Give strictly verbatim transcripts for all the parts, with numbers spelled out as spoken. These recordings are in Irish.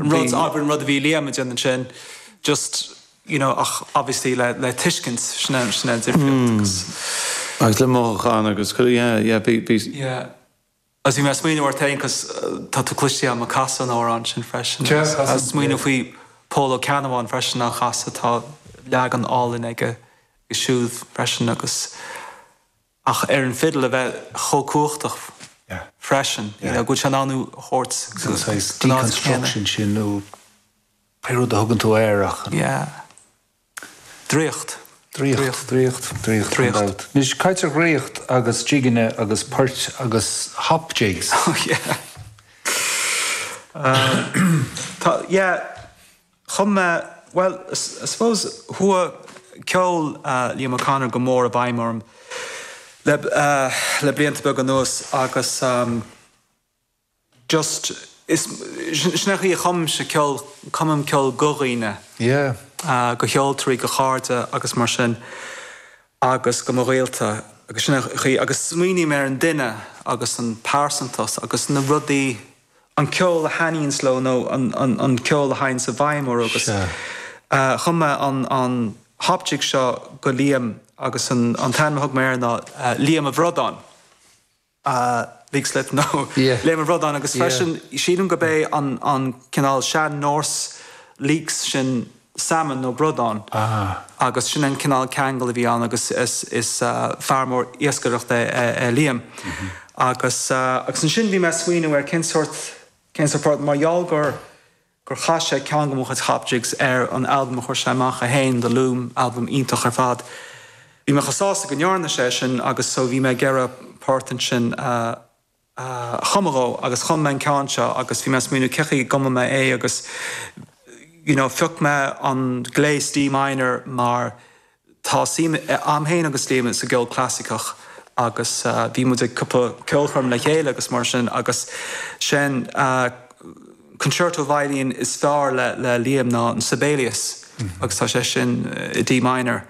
Rud an rud a bhí Liam ag déanamh ansin just you know ach obviously le le tuiscint sin sin difríocht agus Agus le mothúchán agus yeah yeah bhí bhí yeah. Agus bhí mé smaoineamh ort féin cos tá tú cliste am a casadh an amhrán sin freisin. Smaoineamh faoi Pól Ó Ceannabháin freisin á chasadh tá leagan álainn aige siúd freisin agus ach ar an fiddle a bheith chomh cumhachtach freisin go bhfuil sé in ann thabhairt deconstruction sin nó pé rud a thugann tú air ach. Yeah. Draíocht. Draíocht, draíocht, draíocht, draíocht. Anois caint ar dhraíocht agus jigeanna agus poirt agus hop jigs. Oh yeah. Um, tá yeah, chum mé well I suppose chuaigh ceol uh, Liam O'Connor go mór i bhfeidhm orm le, uh, le blianta beaga anuas agus um, just is sin í chum se ceol cumaim ceol do dhaoine. Yeah. Uh, do cheoltóirí do chairde agus mar sin agus do mo ghaolta agus sin í agus smaoiním ar an duine agus an pearsantacht agus na rudaí an ceol a thaitníonns leo nó an, an, an ceol a théann i bhfeidhm orthu agus uh, chum mé an, an hop jig seo go Liam agus an, an t-ainm a thug mé air ná uh, Liam a Bhradán. Uh, Leixlip nó Yeah. Liam a Bhradán agus freisin sílim gurb é an, an cineál sean-Norse leeks sin salmon nó bradán. Ah. agus sin an cineál ceangal a bhí ann agus is, is uh, fear mór iascaireachta é, é Liam. Mm -hmm. Agus, uh, agus ansin bhí mé smaoineamh ar cén sórt cén sórt mar gheall gur gur chas sé ceann de mo chuid hop jigs ar an album a chuir sé amach a haon The Loom album iontach ar fad. Bhí mé chomh sásta go ndearna sé sin agus so bhí mé ag iarraidh port ansin uh, uh, chumadh dó agus chum mé an ceann seo agus bhí mé smaoineamh cén chaoi a gcumfaidh mé é agus you know, phioc mé an gléas D minor mar tá suim agam féin agus Liam sa gceol clasaiceach agus uh, bhí muid ag cúpla ceolchoirm le chéile agus mar sin agus sin uh, concerto violin is fearr le, le Liam ná an Sibelius mm -hmm. agus tá sé sin uh, D minor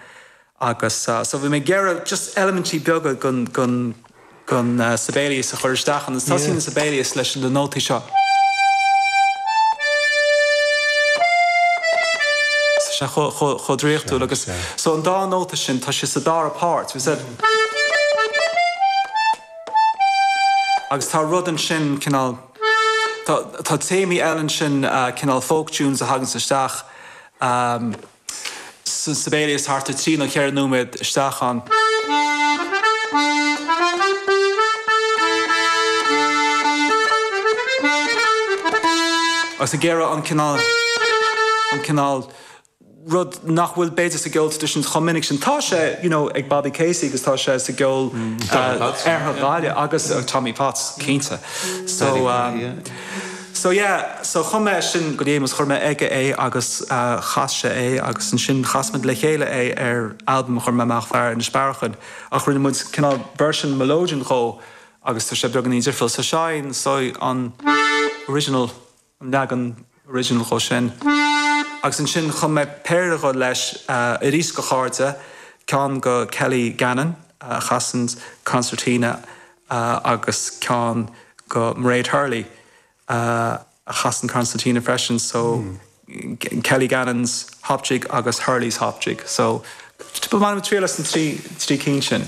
agus uh, so bhí mé ag iarraidh just eilimintí beaga den den den uh, Sibelius a chur isteach an tá yeah. Sibelius leis na nótaí seo. sé chomh draíochtúil agus so an dá nóta sin tá sé sa dara páirt bhí agus tá rud ansin cineál Tá tá téamaí eile sin uh, cineál folk tunes a thagann isteach um, Sibelius thart ar trí nó ceithre nóiméad isteach an. Agus ag iarraidh an cineál an cineál rud nach bhfuil b'fhéidir sa gceol traidisiúnta chomh minic sin tá sé you know, ag Bobby Casey agus tá sé sa gceol Oirthear Ghaillimh agus uh, Tommy Potts cinnte. So um, so yeah, so chum mé sin go dhémas chuir mé aige é agus uh, chas sé é agus ansin chas muid le chéile é ar album chuir mé amach Fear Inis Bearachain ach rinne muid cineál version melodeon dhó agus tá sé beagáinín difriúil sa sein so an original an leagan original dhó sin. Agus ansin chum mé péire dhó leis uh, arís do chairde ceann go Kelly Gannon uh, chasann concertina uh, agus ceann go Mairead Hurley uh, a chasann concertina freisin so mm. Kelly Gannon's hop jig agus Hurley's hop jig so man triail as an trí trí cinn sin.